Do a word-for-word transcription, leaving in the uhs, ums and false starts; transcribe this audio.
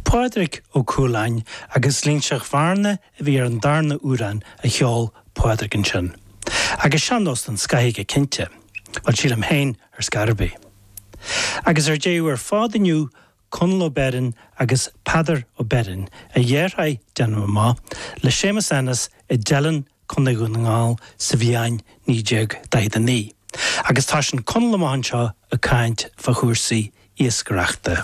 Pádraig Ó Cualáin agus Linseach Bhearna a bhí ar an darna amhrán a cheol Pádraig ansin. Agus sean-nós den scoth go cinnte, Well sílim féin ar scor ar bith. Agus ar deireadh ar fad inniu Conall Ó Beirn agus Peadar Ó Beirn a dheartháir déanaim amach le Séamus Ennis i dTeileann Contae Dhún na nGall sa bhliain naoi déag daichead a naoi. Agus tá sin Conall amach anseo ag caint fá chúrsaí iascaireachta.